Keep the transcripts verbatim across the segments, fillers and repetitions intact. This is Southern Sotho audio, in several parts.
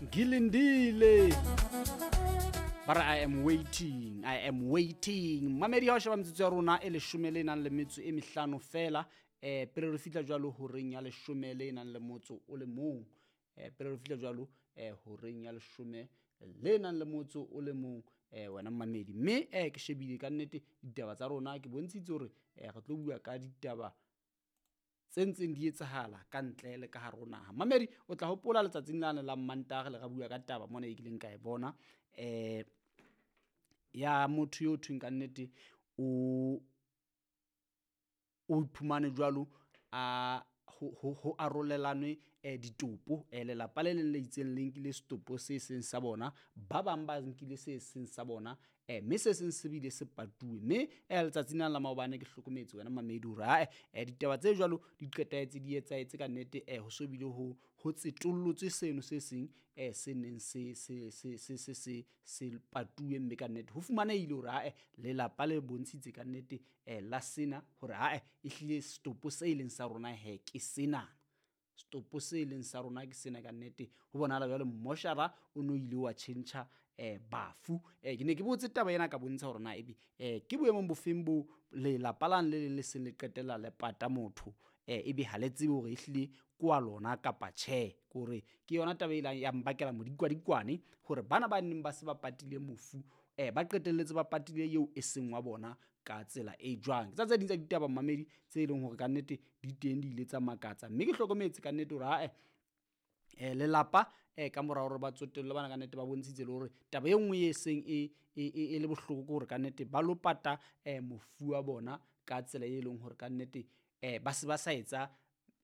Ngilindile. Ba re I am waiting, I am waiting. Mamedi, ha o sheba metsotso ya rona e leshome le nang le metso e mehlano fela, eh pele re fihla jwalo horeng ya leshome le nang le motso o le mong. Eh pele re fihla jwalo eh horeng ya leshome le nang le motso o le mong, eh wena mamedi. Mme eh ke shebile ka nnete ditaba tsa rona, ke bontshitse hore eh re tlo bua ka ditaba tse ntseng di etsahala ka ntle le ka hare ho naha. Mamedi, o tla hopola letsatsing lane la Mantaha le ra bua ka taba mona e kileng ka e bona, eh ya motho yo thweng ka nnete o o iphumane jwalo a ho, ho, ho arolelanwe eh ditopo, eh lelapa le leng le itseng le nkile setopo se seng sa bona, ba bang ba nkile se seng sa bona, eh mme se seng se bile se patuwe. Mme eh letsatsing lena la maobane ke hlokometse wena mamedi hore ae eh ditaba tse jwalo di qetahetse di etsahetse ka nnete, eh ho so bile ho, ho tsetollotswe seno se seng, eh se neng se, se, se, se, se, se, se patuwe, mme ka nnete ho fumanehile hore ae lelapa le bontshitse ka nnete, eh la sena hore ae ehlile setopo se leng sa rona he ke sena. Setopo se leng sa rona ke sena ka nnete. Ho bonahala jwale mmoshara o no ile wa tjhentjha, eh, bafu. Eh, ke ne ke botse taba ena ka bontsha hore na ebe, eh, ke boemong bofeng bo lelapa lane le leng le seng le qetella le pata motho, eh, ebe ha le tsebe hore ehlile ke wa lona kapa tjhe. Ke hore ke yona taba e ileng ya mbakela modikwadikwane hore bana ba neng ba se ba patile mofu, eh, ba qetelletse ba patile eo e seng wa bona ka tsela e jwang. Ke tsa tse ding tsa ditaba mamedi tse leng hore ka nnete di teng, di ile tsa makatsa. Mme ke hlokometse ka nnete hore ae, eh, lelapa, eh, ka mora hore ba tsotelle bana ka nnete ba bontshitse le hore taba e nngwe e seng e, e, e, e le bohloko ke hore ka nnete ba lo pata, eh, mofu wa bona ka tsela e leng hore ka nnete, eh, ba se ba sa etsa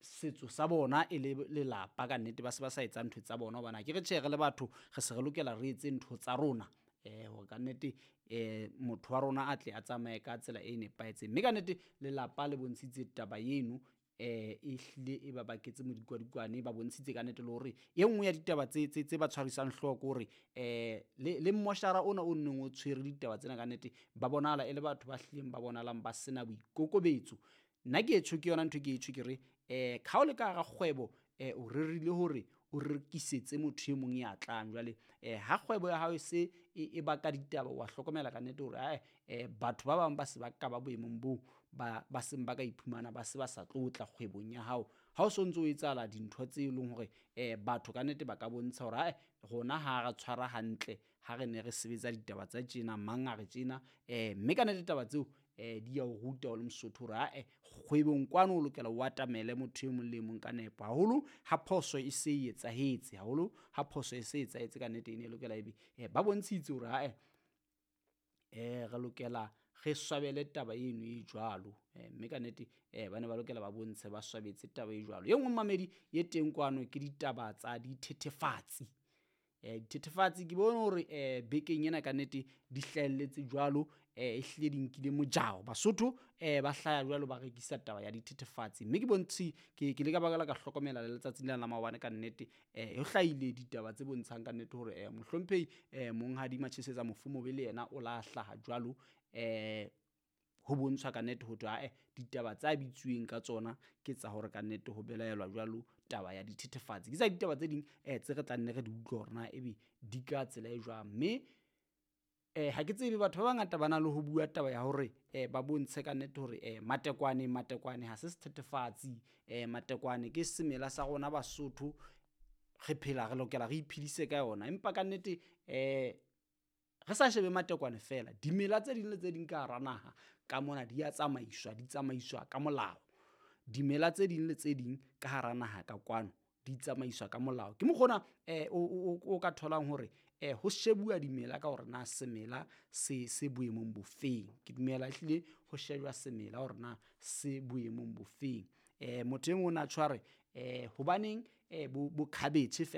setso sa bona e le lelapa ka nnete, ba se ba sa etsa ntho tsa bona, hobane ha ke re tjhe, re le batho re se re lokela re etse ntho tsa rona, eh, hore ka nnete, eh, motho wa rona a tle a tsamaye ka tsela e nepahetseng. Mme ka nnete lelapa le bontshitse taba eno, eh, e hlile e ba baketse modikwadikwane, ba bontshitse ka nnete le hore e nngwe ya ditaba tse, tse, tse ba tshwarisang hlooho ke hore, eh, le, le mmoshara ona o neng o tshwere ditaba tsena ka nnete, ba bonahala e le batho ba hlileng ba bonahalang ba sena boikokobetso. Nna ke etjho ke yona ntho ke etjho ke re, eh, ha o le ka hara kgwebo, eh, o rerile hore o rekisetse motho e mong ya tlang. Jwale, eh, ha kgwebo ya hao e se e, e baka ditaba, wa hlokomela ka nnete hore, ae, eh, batho ba bang ba se ba ka ba boemong boo, ba, ba seng ba ka iphumana ba se ba sa tlo tla kgwebong ya hao. Ha o so ntso o etsahala dintho tse leng hore, eh, batho ka nnete ba ka bontsha hore, ae, rona ha re tshwara hantle, ha re ne re sebetsa ditaba tsa tjena, mang a re tjena, eh, mme ka nnete taba tseo, eh, di ya o ruta o le Mosotho hore, ae, kgwebong kwano o lokela o atamele motho e mong le e mong ka nepo. Haholo ha phoso e se e etsahetse, haholo ha phoso e se etsahetse ka nnete e ne e lokela ebe, eh, ba bontshitse hore, ae, eh, re lokela re swabele taba eno e jwalo. Eh, mme ka nnete, eh, ba ne ba lokela ba bontshe ba swabetse taba e jwalo. E nngwe mamedi e teng kwano ke ditaba tsa dithethefatsi. Eh, dithethefatsi ke bone hore, eh, bekeng ena ka nnete di hlahelletse jwalo, eh, e hlile di nkile mojao. Basotho, eh, ba hlaya jwalo ba rekisa taba ya dithethefatsi. Mme ke bontshi, ke, ke le ka baka la ka hlokomela le letsatsing lena la maobane ka nnete, eh, ho hlahile ditaba tse bontshang ka nnete hore, eh, mohlomphehi, eh, Monghadi Matjhesetsa Mofumobe le yena o la hlaha jwalo, eh, ho bontshwa ka nnete ho thwe, ae, ditaba tsa bitsuweng ka tsona ke tsa hore ka nnete ho belaelwa jwalo taba ya dithethefatsi. Ke tsa ditaba tse ding, eh, tse re tla nne re di utlwe hore na ebe di ka tsela e jwang. Mme, eh, ha ke tsebe, batho ba bangata ba na le ho bua taba ya hore, eh, ba bontshe ka nnete hore, eh, matekwane, matekwane ha se sethethefatsi, eh, matekwane ke semela sa rona Basotho, re phela re lokela re iphedise ka yona. Empa ka nnete, eh, re sa shebe matekwane fela, dimela tse ding le tse ding ka hara naha ka mona di a tsamaiswa, di tsamaiswa ka molao. Dimela tse ding le tse ding ka hara naha ka kwano di tsamaiswa ka molao. Ke mokgwa ona, eh, o, o, o, o ka tholang hore, eh, ho shebuwa dimela ka hore na semela se, se boemong bofeng. Ke dumela ehlile ho shejwa semela hore na se boemong bofeng. Eh, motho e mong o na tjho a re, eh, hobaneng, eh, bo, bo cabbage fela